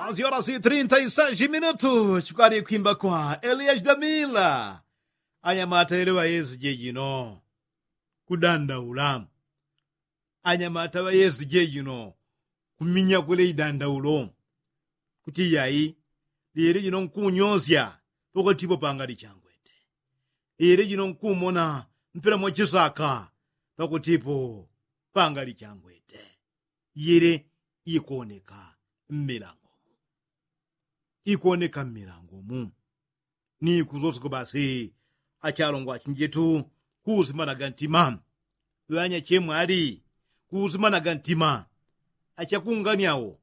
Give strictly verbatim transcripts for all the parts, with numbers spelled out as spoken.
Asiola si trinta isaji minutu chikwali kwimba kwa eliya chidamila. Anyamata yele ŵayezi jejino kudandaula. Anyamata ŵayezi jejino kuminya kwele idandaulo kuti yayi, lyele jino nkunyosya pakwatipo pangali changwete. Lyele jino nkumona mpela mwachisaka pakwatipo pangali changwete. Yele ikoneka mmilango mu ikoneka mmilango mu. Ni kuzoseko basi achalongwa achinjetu kuusimanaga ntima. Ŵanya chemwali kuusimanaga ntima. Achakunganiawo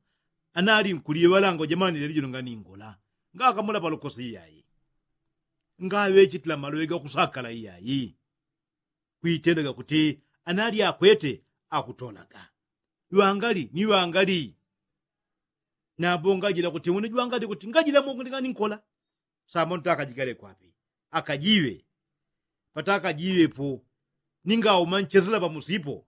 anali nkuliŵalanga ujamani leli jino nganingola ngakamula palokosi iyayi. Ngaŵechitila maloŵe gakusakala iyayi. Kwitendaga kuti anali akwete akutolaga ŵangali ni ŵangali. Nambo ngajila kuti une jwangali kuti ngajila mungu ndinganinkola. Sambo ntakajigale kwapi? Akajiwe patakajiwepo. Ningauma nchesela pamusipo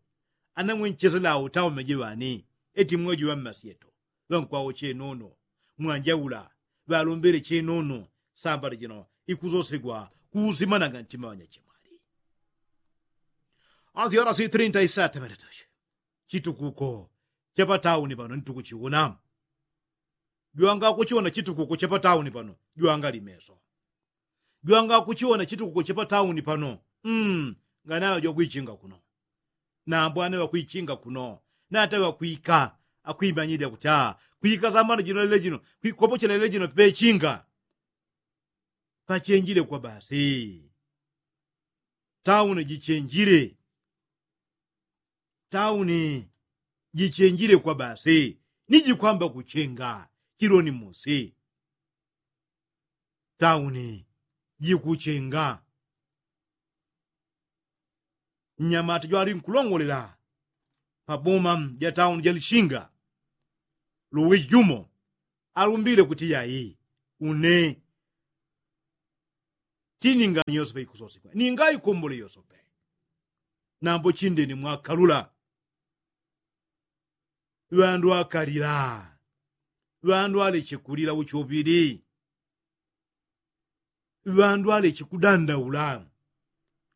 anamwe nchesela awo taumeje ŵani. Eti mweji ŵammasyeto ŵankwawo chenono mwanjaula ŵalombele chenono. Sambala jino ikuzosegwa kuusimanaga ntima ŵanyachemwali. Asiola si trinta isata ŵaletuche chitukuko chapatauni pano nitukuchiwona. Jwanga kuchiwona chitukuko chapatauni pano jwanga limeso. Jwanga kuchiwona chitukuko chapatauni pano. Mm, nganaŵa jwakwichinga kuno. Nambo ane ŵakwichinga kuno nata ŵakwika akwimanyilila kuti a kwika samano jino lele jino kwikopochela lele jino pechinga. Pachenjile kwa basi. Tauni jichenjile. Tauni jichenjile kwa basi ni jikwamba kuchenga. Chiloni musi tauni jikuchenga. Mnyamata jwali nkulongolela paboma ja tauni ja lishinga luwiji jumo alumbile kuti yai une tiningani yosepe ikusosigwa ningaikombole yosepe. Nambo chindeni mwakalula. Ŵandu akalila. Ŵandu aleche kulila uchopili. Ŵandu aleche kudandaula.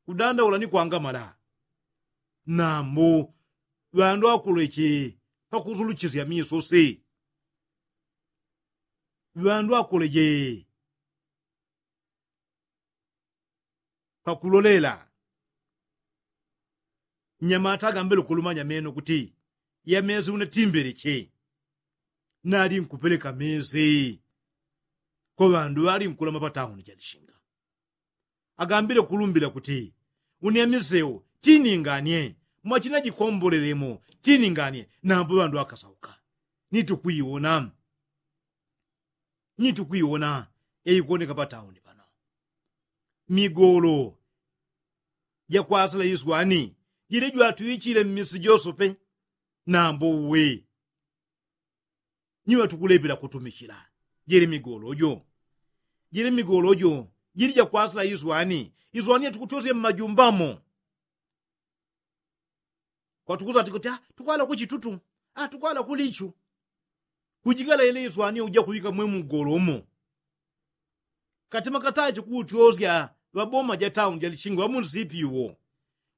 Kudandaula ni kwangamala. Nambo ŵandu akuleche pakusulushisya misosi. Ŵandu akuleche pakulolela. Nyamata agambele ukulumanya meno kuti yamezi unatimbeleche. Nali nkupeleka mezi kwa ŵandu ŵali nkulama patauni jalishinga. Agambile kulumbila kuti unyamiseu tininganie mwachina jikombolelemo tininganie. Nambo ŵandu akasauka. Nitukwiwona nitukwiwona yaikuwoneka patauni pano. Migolo jakwasila iswani jili jwatuichile mmisi josope. Nambo uwe nyiŵa tukulepela kutumichila. Jili migolo jo jili migolo jo jili jakwasila iswani. Iswani yatukutosya mmajumbamo. Kwatukuza tikuti tukwala kuchitutu. Tukwala kulichu. Kujigala ile iswani uja kuŵika mwe mugolo umo. Katima katache kutyosya ŵaboma ja tauni ja lishinga ŵamunsipi iwo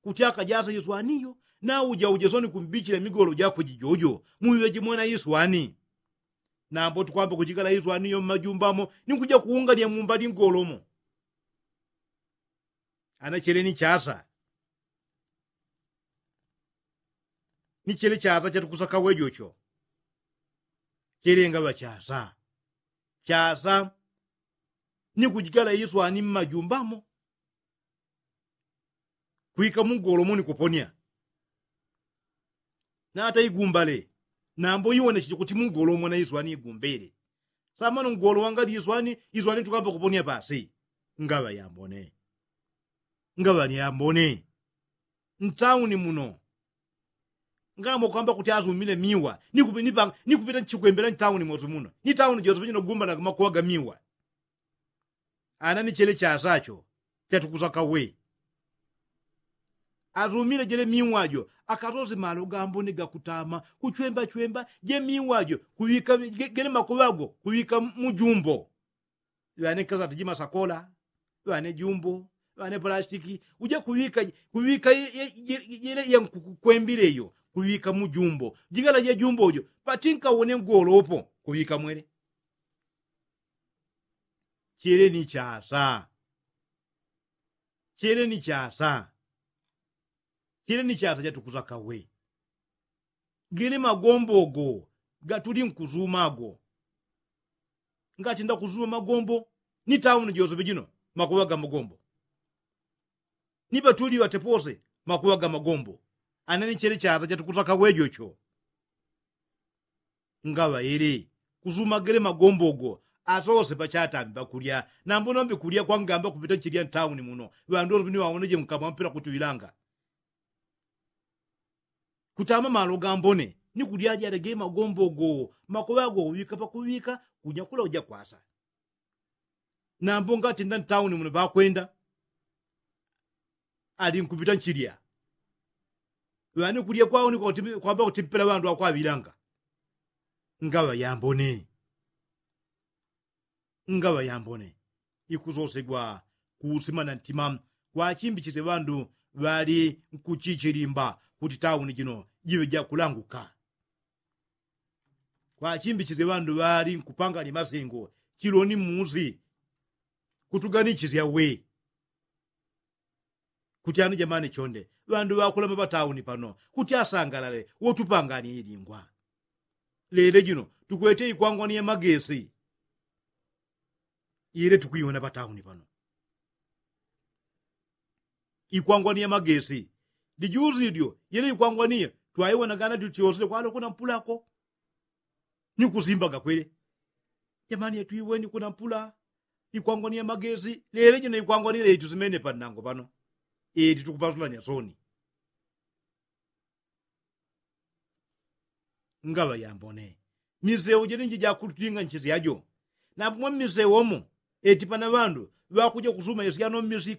kuti akajasa iswani iyo. Nauja ujesoni kumbichila migolo jakwe jijojo muŵiŵe jimwena iswani. Nambo tukwamba kujigala iswani iyo mmajumbamo ni kuja kuungania mumbali ngolomo. Ana chele ni chasa. Ni chele chasa chatukusaka wejocho. Chele ngaŵa chasa chasa ni kujigala iswani mmajumbamo. Kwika mugolomo ni kuponia. Nata igumbale. Nambo iwonecheche kuti mugolomo na iswani igumbele. Samano mgolo wangali iswani iswani tukamba kuponia pasi. Ngaŵa yambone. Ngaŵa ni yambone. Ntauni muno ngamo kwamba kuti asumile miwa nikupita nchikwembela ntauni mosi muno ni tauni jose pachino gumba na makuwa ga miwa. Ana ni chele chasacho chatukusaka we. Asumile jele miwajo akasosi malo gambone gakutama kuchwembachwemba je miwajo kuŵika gele makuŵago kuŵika mujumbo. Ŵane kasati jimasakola ŵane jumbo ŵane plastiki uje kuŵika kuŵika jele yankukwembile iyo kuŵika mujumbo jigala je jumbo jo pati nkawone ngolopo kuŵika mwele. Chele ni chasa. Chele ni chasa. Chele ni chasa chatukusaka we. Gele magombo go gatuli nkusuma go. Ngati ndakuzuma magombo ni tauni josepe jino makuŵa ga magombo. Ni ŵatuli ŵatepose makuŵa ga magombo. Anani chele chata chatukusaka wejocho. Ngaŵa ele kusuma gele magombo go asose pachatambi pakulya. Nambo nombi kulya kwangamba kupita nchilya ntauni muno ŵandu ŵasope ni ŵawoneje mkamwa mpila kutiŵilanga. Kutama malo gambone ni kulyalyale ge magombo go makuŵa go kuŵika pakuŵika. Kunyakula uja kwasa. Nambo ngatenda ntauni muno ŵakwenda ali nkupita nchilya. Ŵani kulya kwao ni kwamba kuti mpela ŵandu akwaŵilanga. Ngaŵa yambone. Ngaŵa yambone ikusosegwa kuusima na ntima. Kwachimbichisye ŵandu ŵali nkuchichilimba kuti tauni jino jiŵe jakulanguka. Kwachimbichisye ŵandu ŵali nkupangani masengo chiloni musi. Kutuganichisya we. Kuti ani jamani chonde ŵandu ŵakulama ŵatauni pano kuti asangalale wotupangani ilingwa. Lele jino tukwete ikwangwani ya magesi. Ile tukwiwona ŵatauni pano ikwangwani ya magesi. Lijusi lyo ile ikwangwani ya twaiwona gana tutyosile kwalo kuna mpulako. Ni kusimbaga kwele. Jamani yatwiweni kuna mpula ikwangwani ya magesi lele jino ikwangwani ile itusimene panango pano. Ili tukupasulanya soni. Ngaŵa yambone. Miseu jene njijakututinga nchisyajo. Napumwa mmiseu omo eti pana ŵandu ŵakuja kusuma isyano mmisi.